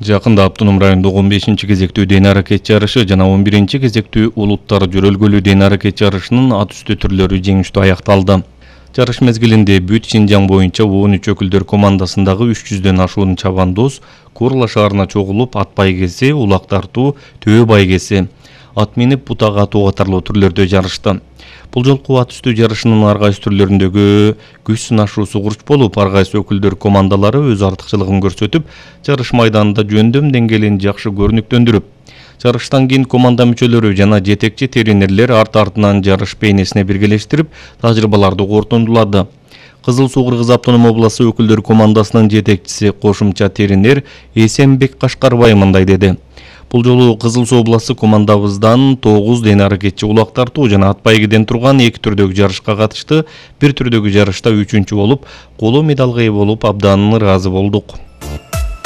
Жакында Автоном райондогу 15-чи кезектүү ден аракет жарышы жана 11-чи кезектүү улуттар жөрөлгөлүү ден аракет жарышынын ат үстү түрлөрү жеңиштүү аякталды. Жарыш мезгилинде бүт Синжаң боюнча 13 өкүлдөр командасындагы 300дөн ашуун чабандоз Курла шаарына чогулуп ат байгеси, улак тартуу, төбө байгеси, ат минип бутак атуу катарлуу түрлөрдө жарышты. Бул жолку ат үстү жарышынын ар кайсы түрлөрүндөгү күч сынашуусу курч болуп, ар кайсы өкүлдөр командалары өз артыкчылыгын көрсөтүп, жарыш майданында жөндөм деңгээлин жакшы көрүнүктөндүрүп, жарыштан кийин команда мүчөлөрү жана жетекчи тренерлер арт-артынан жарыш бейнесине биргелештирип, тажрыйбаларды корутундулады. Кызыл Суу-Кыргыз автоном областы өкүлдөр командасынын жетекчиси кошумча тренер Эсенбек Кашкарбай мындай деди. Бул жолу Кызыл Суу областы командабыздан 9 ден аракетчи улак тартуу жана ат байгеден турган 2 түрдөгү жарышка катышты. Бир түрдөгү жарышта 3-чү болуп, коло медалга ээ болуп, абдан ыраазы болдук.